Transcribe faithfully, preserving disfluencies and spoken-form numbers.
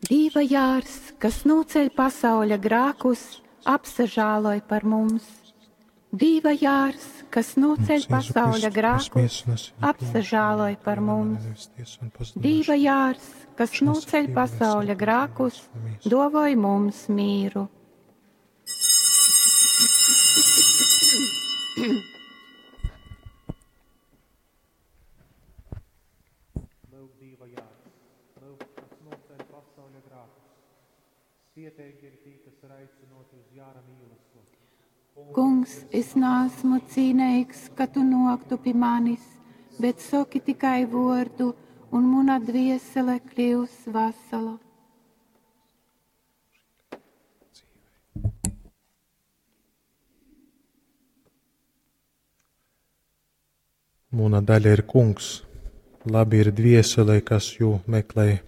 Dīva jārs, kas nūceļ pasauļa grākus, apsažāloj par mums. Dīva jārs, kas nūceļ Kungs Jēzu pasauļa Kristu, kas grākus, miesu un asini apsažāloj pieņemšanu, par mana mums. nevis tiesu un pazudušanu. Dīva jārs, kas Šās nūceļ dzīves pasauļa un grākus, dzīves un miesu. dovoj mums mīru. Lūk, Dieva jārs, lūk, kas noceļ pasauļa grēkus. Svietīgi ir tī, kas ir aicināti uz jāra mīlestību. Kungs, es neesmu cīnīgs, ka tu noktu pie manis, bet saki tikai vārdu, un mana dviesele kļūs vesela. Muna daļa ir kungs, labi ir dvieselei, kas jū meklej.